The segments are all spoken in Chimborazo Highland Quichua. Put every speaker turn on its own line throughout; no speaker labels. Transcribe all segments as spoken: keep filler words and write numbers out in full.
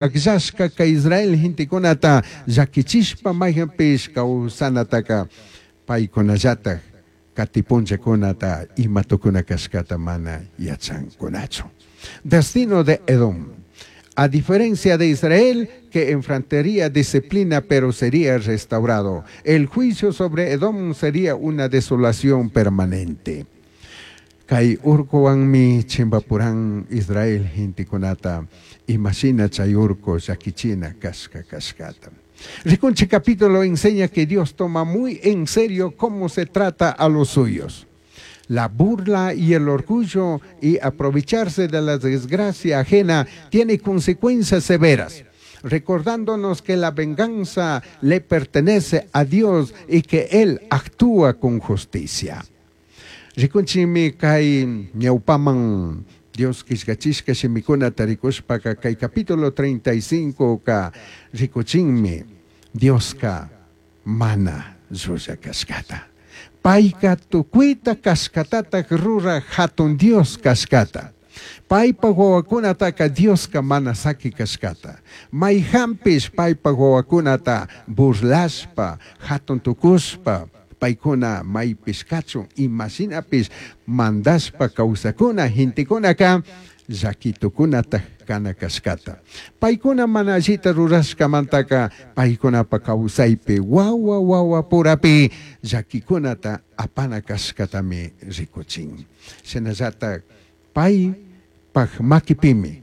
Akllashka kay Israel gentekunata llakichishpa mayhanpish kawsanataka paykunallatak katipunllakunata ima tukuna kashkata mana yachankunachu. Destino de Edom. A diferencia de Israel, que enfrentaría disciplina pero sería restaurado, el juicio sobre Edom sería una desolación permanente. Kay urkuwanmi chimbapuran Israel gentekunata imashina chay urku llakichina kashka kashkata. Rikunchik capítulo enseña que Dios toma muy en serio cómo se trata a los suyos. La burla y el orgullo y aprovecharse de la desgracia ajena tiene consecuencias severas, recordándonos que la venganza le pertenece a Dios y que Él actúa con justicia. Rikunchikmi kay ñawpaman Dios killkachishka shimikunata rikushpaka kay capítulo treinta y cinco ka rikuchinmi Dioska mana llulla kashkata. Payka tukuyta kashkatatak ruraj hatun Dios kashkata. Paypa wawakunataka Dioska mana saki kashkata. Mayhanpish paypa wawakunata burlashpa, hatun tukushpa, paykuna maypish kachun imashinapish mandashpa kawsakuna gentekunaka llakitukunatak kana kashkata. Paykuna mana allita rurashkamantaka paykunapa kawsaypi wawa wawa purapi llakikunata apana kashkatami rikuchin. Shinallatak paypak makipimi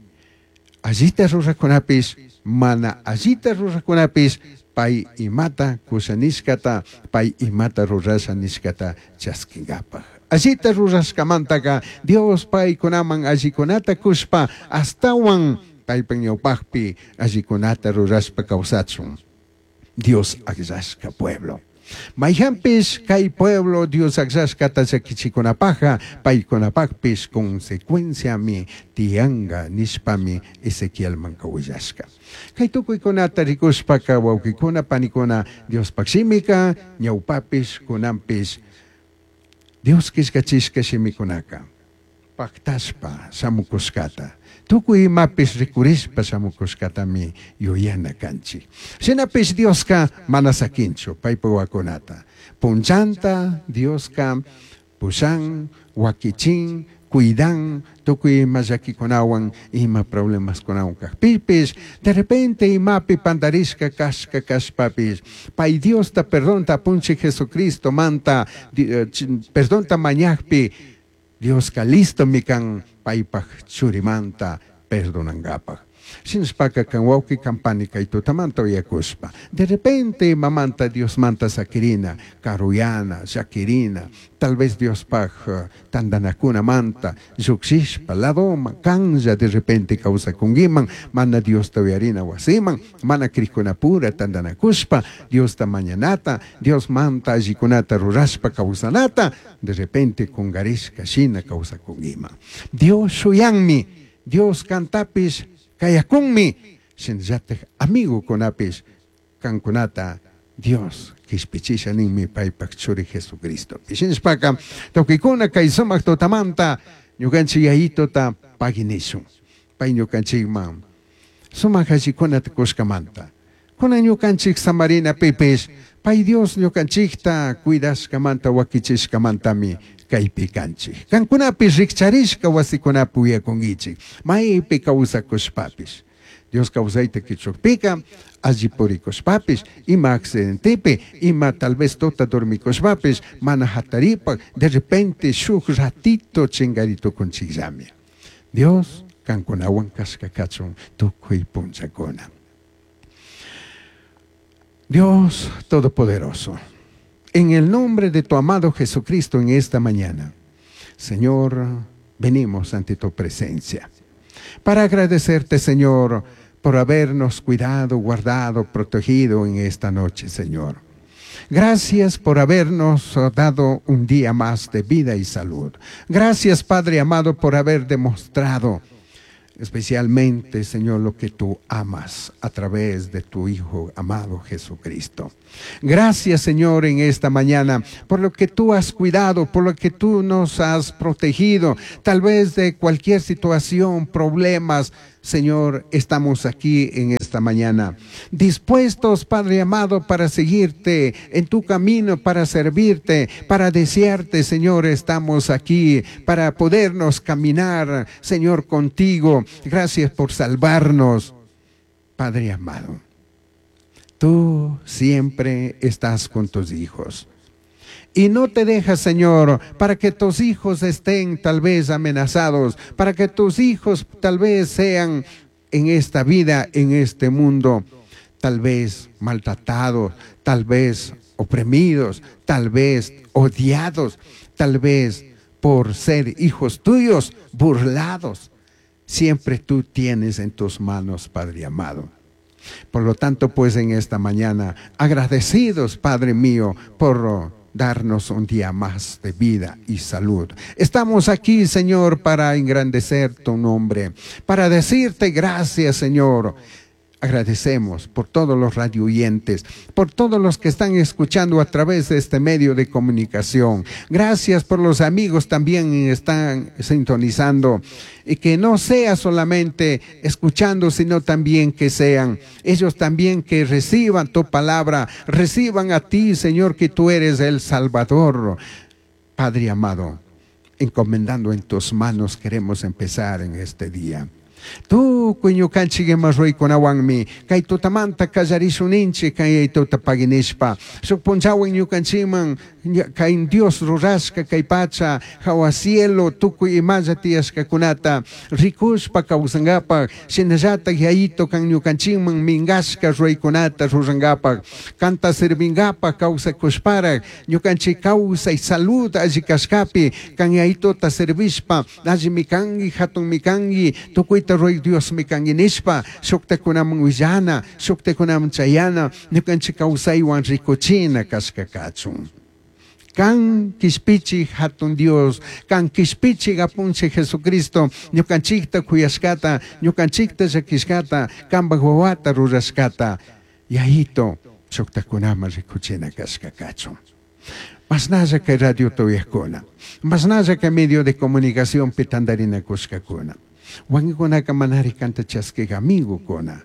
allita rurakunapish mana allita rurakunapish pay imata kusha nishkata pay imata rurasha nishkata chaskinkapak. Allita rurashkamantaka Dios paykunaman allikunata kushpa astawan paypa ñawpakpi allikunata rurashpa kawsachun. Dios akllashka pueblo. Mayhanpish kay pueblo Dios akllashkata llakichikunapakka paykunapakpish consecuenciami tiyanka nishpami Ezequielmanka willashka. Kay tukuykunata rikushpaka wawqikuna panikuna Diospak shimika ñawpapish kunanpish Dios killkachishka shimikunaka paktashpa shamukushkata tukuy imapish rikurishpa shamukushkatami yuyana kanchik. Shinapish Dioska mana sakinchu paypa wawakunata. Punchanta Dioska pushan, wakichin, cuidan tukuy ima llakikunawan ima problemaskunawan kakpipish de repente imapi pandarishka kashka kashpapish pay Diosta perdonta apunchik Jesucristo manta perdonta mañakpi Dioska listomi kan paypak churimanta perdonankapak. Shinashpaka kan wawqi kan pani kay tutamanta uyakushpa de repente imamanta Diosmanta sakirina karuyana llakirina tal vez Diospaj tantanakunamanta llukshishpa ladoman kanlla de repente kawsakunkiman mana Diosta uyarina wasiman mana krikkunapura tantanakushpa Diosta mañanata Diosmanta allikunata rurashpa kawsanata de repente kungarishka shina kawsakunkiman. Dios shuyanmi, Dios kantapish kayakunmi, shinallatak amigokunapish kankunata Dios kishpichisha ninmi paypak churi Jesucristo. Shinashpaka tukuykuna kay sumak tutamanta ñukanchik Yayituta pagui nishun. Pay ñukanchikman sumak allikunata kushkamanta. Kunan ñukanchik samarina pipish pay Dios ñukanchikta cuidashkamanta wakichishkamantami kaypi kanchik. Kankunapish rikcharishka wasikunapi uyakunkichik maypi kawsakushpapish. Dios kawsayta kichukpika alli purikushpapish ima accidentepi ima tal vez tuta dormikushpapish mana hataripak de repente shuk ratito chingaritukunchikllami. Dios kankunawan kashka kachun tukuy punchakuna. Dios Todopoderoso, en el nombre de tu amado Jesucristo en esta mañana, Señor, venimos ante tu presencia para agradecerte, Señor, por habernos cuidado, guardado, protegido en esta noche, Señor. Gracias por habernos dado un día más de vida y salud. Gracias, Padre amado, por haber demostrado Especialmente, Señor, lo que tú amas a través de tu Hijo amado Jesucristo. Gracias, Señor, en esta mañana, por lo que tú has cuidado, por lo que tú nos has protegido, tal vez de cualquier situación, problemas. Señor, estamos aquí en esta mañana, dispuestos, Padre amado, para seguirte en tu camino, para servirte, para desearte, Señor, estamos aquí para podernos caminar, Señor, contigo. Gracias por salvarnos, Padre amado. Tú siempre estás con tus hijos. Y no te dejas, Señor, para que tus hijos estén tal vez amenazados, para que tus hijos tal vez sean en esta vida, en este mundo, tal vez maltratados, tal vez oprimidos, tal vez odiados, tal vez por ser hijos tuyos, burlados. Siempre tú tienes en tus manos, Padre amado. Por lo tanto, pues en esta mañana, agradecidos, Padre mío, por darnos un día más de vida y salud. Estamos aquí, Señor, para engrandecer tu nombre, para decirte gracias, Señor. Agradecemos por todos los radioyentes, por todos los que están escuchando a través de este medio de comunicación. Gracias por los amigos también que están sintonizando. Y que no sea solamente escuchando, sino también que sean ellos también que reciban tu palabra, reciban a ti, Señor, que tú eres el Salvador. Padre amado, encomendando en tus manos queremos empezar en este día. Tukuy ñukanchik ima ruraykunawanmi kay tutamanta kallarishunninchik kay tuta paginishpa shuk punchawan ñukanchikman kay Dios rurashka kay pacha hawa cielo tukuy imalla tiyashkakunata rikushpa kawsankapak shinallatak yayito kan ñukanchikman minkashka ruraykunata rurankapak kanta servinkapak kawsakushparak ñukanchik kawsay salud alli kashkapi kan yayitota servishpa allimi kanki hatunmi kanki tukuyta ruray Dios mi kanki nishpa shuktakunaman willana shuktakunaman chayana ñukanchik kawsaywan rikuchina kashka kachun. Kan kishpichi hatun Dios, kan kishpichi apunchik Jesucristo, ñukanchikta kuyashkata, ñukanchikta llakishkata, kanpak wawata rurashkata, yayito shuktakunaman rikuchina kashka kachun. Mashnalla kay radio tuyakuna, mashnalla kay medio de comunicación pitandarinakushkakuna. Wakinkunaka manari kanta chaskik amigokuna.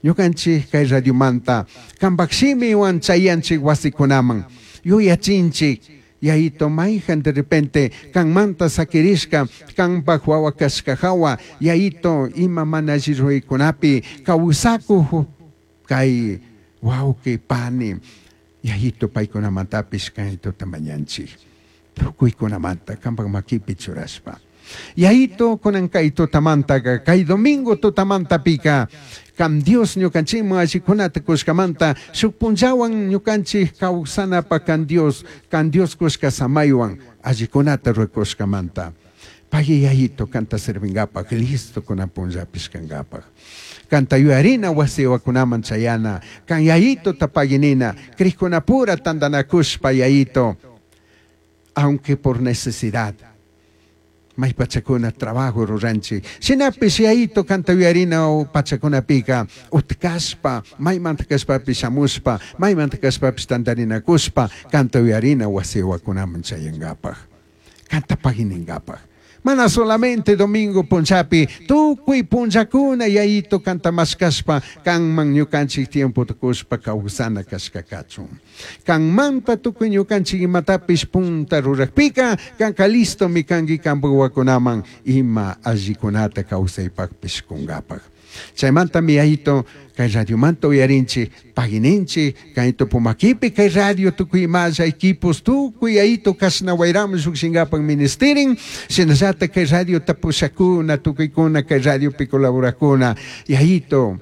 Ñukanchik kay radiomanta kanpak shimiwan chayanchik wasikunaman yuyachinchik yayito mayjan de repente kanmanta sakirishka kanpak wawa kashka hawa yayito ima mana alli ruraykunapi kawsakuq kay wawqi pani yayito paykunamantapish kaytota mañanchik tukuykunamanta kanpak makipi churashpa. Yayito kunan kay tutamantaka kay domingo tutamantapika kam Dios ñukanchikman allikunata kushkamanta shuk punllawan ñukanchik kawsanapa kan Dios kan Dios kushka samaywan allikunata rurakushkamanta pagui yayito kanta servinkapak listo kunan punllapish kankapak kanta yuyarina wasiwakunaman chayana kan yayito tapaginina krikkunapura tantanakushpa yayito aunque por necesidad may pachakuna trabajo ruranchik shinapish yayito kanta yuyarina pachakunapika utkashpa maymanta kashpapish shamushpa maymanta kashpapish tantarinakushpa kanta yuyarina wasiwakunaman chayankapak kanta pagininkapak mana solamente domingo punchapi tukuy punllakuna yayito kanta mashkashpa kanman ñukanchik tiempo tukushpa kawsana kashka kachun kanmanta tukuy ñukanchik imatapish punta rurakpika kanka listomi kanki kanpak wawakunaman ima allikunata kawsaypakpish kunkapak. Chaymantami yayito kay radiomanta uyarinchik pagininchik kayto Pumakipi kay radio tukuy imalla equipos tukuy yayito kashna wayraman llukshinkapak ministerin shinallatak kay radio tapushakuna tukuykuna kay radiopi colaborakuna yayito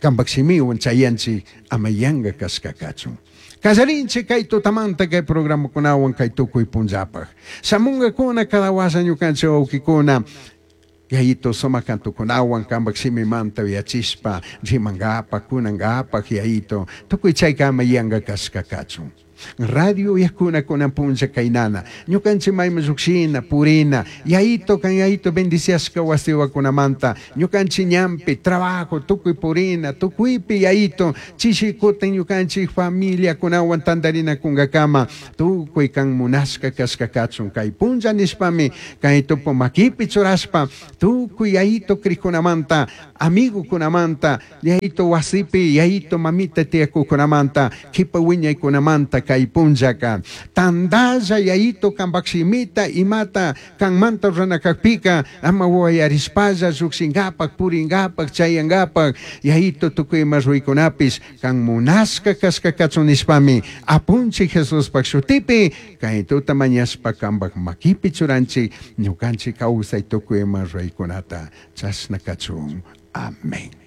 kanpak shimiwan chayanchik ama yanka kashka kachun. Kallarinchik kay tutamanta kay programakunawan kay tukuy punllapak shamunkakuna cada washa ñukanchik wawkikuna yayito sumak kantukunawan kanpak shimimanta yachishpa rimankapak kunankapak yayito tukuy chaykama yanka kashka kachun. Radio uyakuna kunan punlla kaynana ñukanchik mayman llukshina purina yayito kan yayito bendiciashka wasiwakunamanta ñukanchik ñanpi trabajo tukuy purina tukuypi yayito chishi kutin ñukanchik familiakunawan tantarinakunkakama tukuy kan munashka kashka kachun kay punlla nishpami kay tupu makipi churashpa tukuy yayito krikunamanta amigukunamanta yayito wasipi yayito mamita tiyakukunamanta kipa wiñaykunamanta kay punllaka tandalla yayito kanpak shimita imata kanmanta ruranakakpika ama wayarishpalla llukshinkapak purinkapak chayankapak yayito tukuy ima ruykunapish kan munashka kashka kachun nishpami apunchik Jesuspak shutipi kay tuta mañashpa kanpak makipi churanchik ñukanchik kawsay tukuy ima ruraykunata chashna kachun. Amén.